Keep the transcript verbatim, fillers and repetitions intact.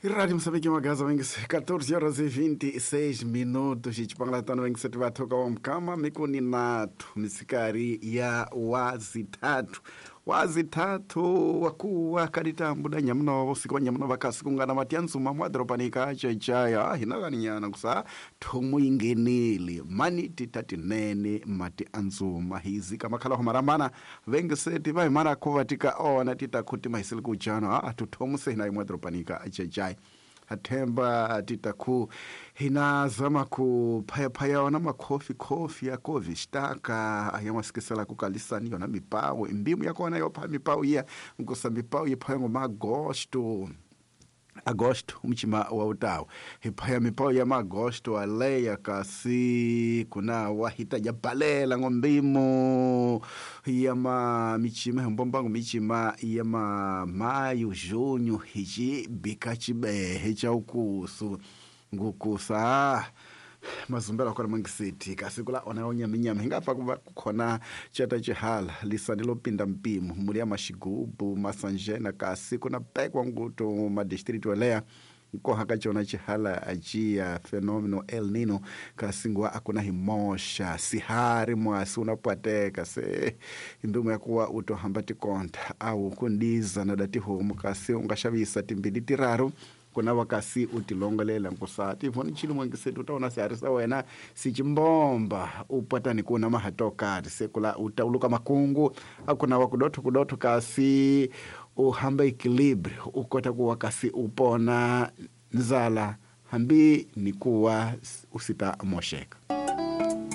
Rádio Moçambique Magaza vengise catorze horas e vinte e seis minutos xipanglatano vengise tivathoka wa mukama mikuni nathu misikari ya wazithathu wazithathu wakuwa kaditambu da nyamunovo siku wa nyamunova kasi kungana matiantsuma mwadoropanika chechaya hinakaninyana kusa thomu yingenile mani titatinene mati antsuma hizika makhalaho marambana vengeseti va hi mara khuva tika ona titakhu timahisele kujano a tuthomu se hina imwadoropanika chechaya athemba titakhu hinazama ku phayaphaya ona makhofi khofi ya kovistaka ayawasikisela kukalisani yona mipawu imbimu yakona yopha mipawu iya nkusa mipawu yiphaya ngomagosto agosto umchima wa utawu hiphaya mipawu ya magosto aleya kasi kuna wahitaja balela ngombimo ya ma michima himbombango michima ya ma mayu junho hichibika chibehe cha ukusu ngukusa mazumbela kona mangisiti kasi kula ona onyaminyama hingapfa kuva kukhona chata chihala lisani lopinda mpimo muli ya maxigubu masanjena kasi kuna pekwa nguto madistritu oleya nkoha ka cona chihala aciya fenomeno El Nino kasi nguwa akuna himoxa sihari mwasi unapwateka se imbimu yakuwa utohamba tikonta au kundiza na datihomu kasi ungaxavisa timbili tiraru kuna wakasi utilongolela nkusa tivoni chilo mwangisetu utaona sihari sa wena sichimbomba upwatani kuna mahatokati sekula utauluka makungu akuna wakudotho kudotho kasi uhamba equilibrio ukota kuwa kasi upona nzala hambi nikuwa usita mosheka.